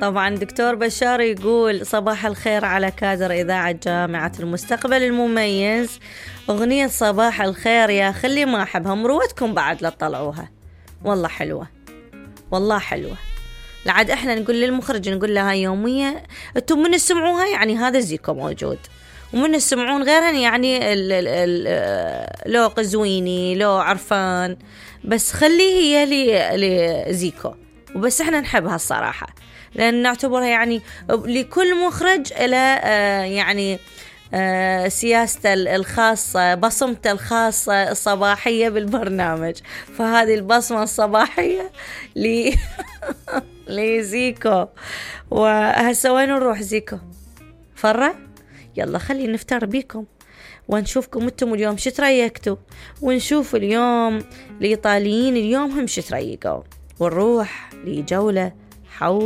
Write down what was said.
طبعا دكتور بشار يقول صباح الخير على كادر إذاعة جامعة المستقبل المميز. أغنية صباح الخير يا خلي ما أحبها، مروتكم بعد لا تطلعوها، والله حلوة والله حلوة. لعد احنا نقول للمخرج، نقول لها يومية انتم من تسمعوها يعني هذا زيكو موجود، ومن تسمعون غيرها يعني لو قزويني لو عرفان، بس خليه هي لزيكو وبس. احنا نحبها الصراحة لأن نعتبرها يعني لكل مخرج إلى يعني سياسته الخاصة، بصمته الخاصة الصباحية بالبرنامج، فهذه البصمة الصباحية لزيكو. وهسه وين نروح زيكو؟ فرة؟ يلا خلي نفتر بيكم ونشوفكم انتم اليوم شو تريكتوا، ونشوف اليوم الإيطاليين اليوم هم شو تريقوا، ونروح لجولة حول